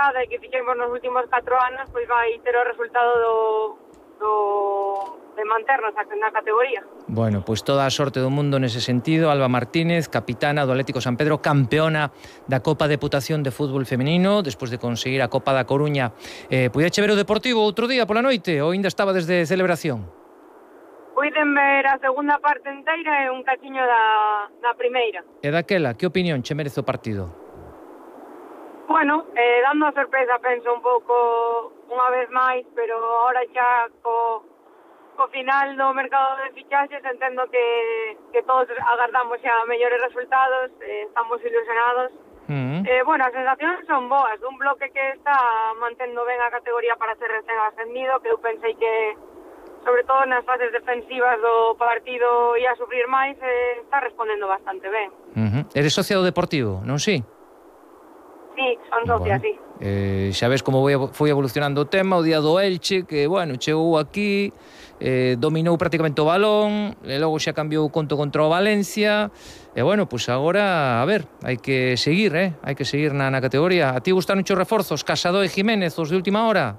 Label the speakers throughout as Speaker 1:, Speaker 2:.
Speaker 1: temporada e que fixemos nos últimos 4 anos, pois vai ter o resultado de manternos na categoría.
Speaker 2: Bueno, pois toda a sorte do mundo nese sentido. Alba Martínez, capitana do Atlético San Pedro, campeona da Copa Deputación de Fútbol Femenino, despois de conseguir a Copa da Coruña. Puideche ver o Deportivo outro día pola noite ou ainda estaba desde celebración?
Speaker 1: Puiden ver a segunda parte inteira e un cachiño da primeira.
Speaker 2: E daquela, que opinión che merece o partido?
Speaker 1: Bueno, dando a sorpresa, penso un pouco unha vez máis, pero ahora xa co final do mercado de fichaxes entendo que todos agardamos xa mellores resultados, estamos ilusionados. Bueno, as sensacións son boas, dun bloque que está mantendo ben a categoría para ser recén ascendido, que eu pensei que, sobre todo nas fases defensivas do partido, ia sufrir máis, está respondendo bastante ben.
Speaker 2: Eres socia do Deportivo, non si?
Speaker 1: Sí, son socia, sí.
Speaker 2: Xa ves como foi evolucionando o tema, o día do Elche, que, bueno, chegou aquí, dominou prácticamente o balón, e logo xa cambiou o conto contra o Valencia, e, bueno, pois agora, a ver, hai que seguir, hai que seguir na categoría. A ti gustaron os reforzos, Casado e Jiménez, os de última hora?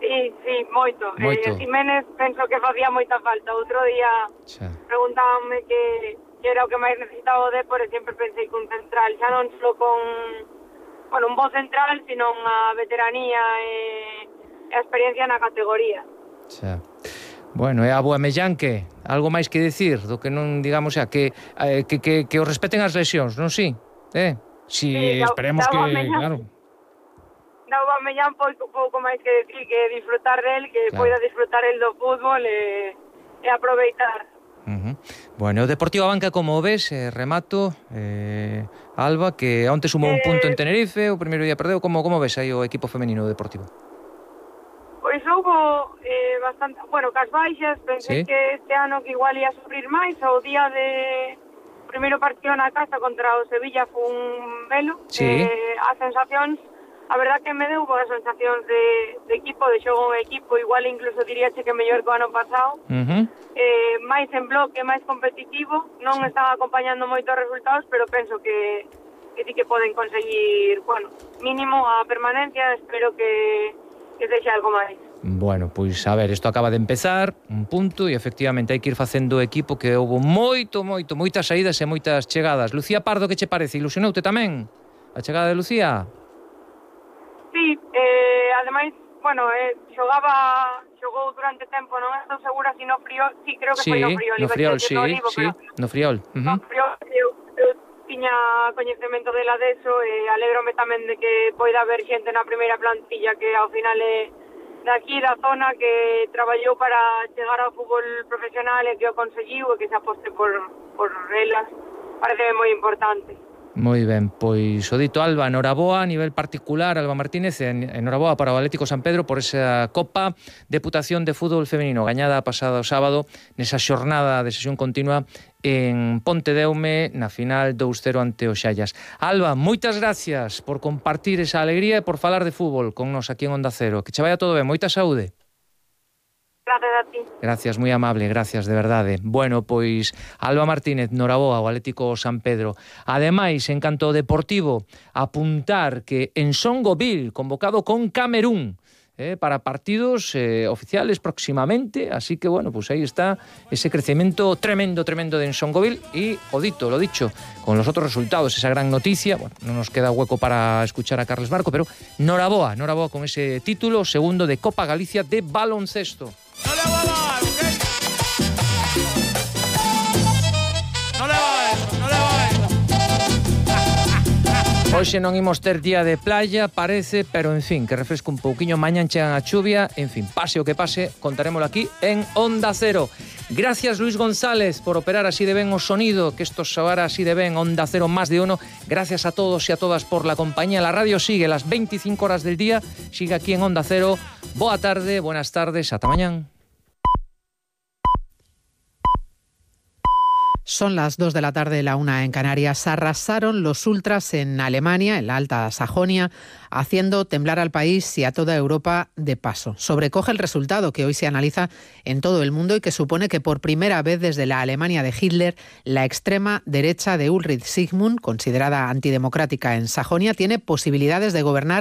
Speaker 1: Sí, moito. Jiménez penso que facía moita falta. Outro día preguntábanme que era o que máis necesitaba o Depor e sempre pensei que un central, xa non só con un bo central, sino unha veteranía e a experiencia na categoría.
Speaker 2: Bueno, e a Aubameyang, que algo máis que decir do que non, digamos, que o respeten as lesións, non si? Si esperemos que, claro.
Speaker 1: Da Aubameyang pouco máis que decir, que disfrutar del, que poida disfrutar el do fútbol e aproveitar.
Speaker 2: Bueno, o Deportivo Abanca, como ves, remato, Alba, que onte sumou un punto en Tenerife, o primeiro día perdeu, como ves aí o equipo femenino do Deportivo?
Speaker 1: Pois houve bastante, cas baixas, pensei que este ano que igual ia sufrir máis, o día de primeiro partido na casa contra o Sevilla foi un velo, as sensacións, a verdad que me deu boas sensacións de equipo, de xogo en equipo, igual incluso diríache que mellor que o ano pasado, máis en bloque, máis competitivo, non están acompañando moitos resultados, pero penso que sí que poden conseguir, mínimo a permanencia, espero que sexa algo máis.
Speaker 2: Bueno, pois a ver, isto acaba de empezar, un punto, e efectivamente hai que ir facendo equipo, que houve moitas saídas e moitas chegadas. Lucía Pardo, que che parece? Ilusionoute tamén a chegada de Lucía?
Speaker 1: Sí, ademais, xogou durante tempo, non estou segura se no Friol, sí, creo que foi no Friol.
Speaker 2: No Friol, no Friol.
Speaker 1: No Friol, eu tiña coñecemento dela deso e alégrome tamén de que poida haber xente na primeira plantilla que ao final é daqui da zona, que traballou para chegar ao fútbol profesional e que o conseguiu e que se aposte por elas. Parece moi importante.
Speaker 2: Moi ben, pois o dito, Alba, noraboa a nivel particular, Alba Martínez, noraboa para o Atlético San Pedro por esa Copa Deputación de Fútbol Femenino gañada pasado sábado nesa xornada de sesión continua en Pontedeume na final 2-0 ante o Xallas. Alba, moitas gracias por compartir esa alegría e por falar de fútbol con nos aquí en Onda Cero. Que che vaya todo ben, moita saúde.
Speaker 1: Gracias a ti.
Speaker 2: Gracias, moi amable, gracias, de verdade. Bueno, pois Alba Martínez, noraboa ao Atlético San Pedro. Ademais, en canto ao Deportivo, apuntar que en Songoville, convocado con Camerún, para partidos oficiales próximamente, así que, bueno, pues ahí está ese crecimiento tremendo de Ensongoville y, lo dicho, con los otros resultados, esa gran noticia. Bueno, no nos queda hueco para escuchar a Carles Barco, pero noraboa con ese título segundo de Copa Galicia de baloncesto.
Speaker 3: No le va a dar, ¿ok? No le va a eso, no le va a eso.
Speaker 2: Hoxe non imos ter día de playa, parece, pero en fin, que refresco un pouquiño, mañan chegan a chuvia, en fin, pase o que pase, contarémolo aquí en Onda Cero. Gracias, Luis González, por operar así de ben o sonido, que esto soara así de ben, Onda Cero más de uno. Gracias a todos y a todas por la compañía. La radio sigue las 25 horas del día, sigue aquí en Onda Cero. Boa tarde, buenas tardes, ata mañán.
Speaker 4: Son las 2 de la tarde, la 1 en Canarias. Arrasaron los ultras en Alemania, en la Alta Sajonia, haciendo temblar al país y a toda Europa de paso. Sobrecoge el resultado que hoy se analiza en todo el mundo y que supone que por primera vez desde la Alemania de Hitler, la extrema derecha de Ulrich Sigmund, considerada antidemocrática en Sajonia, tiene posibilidades de gobernar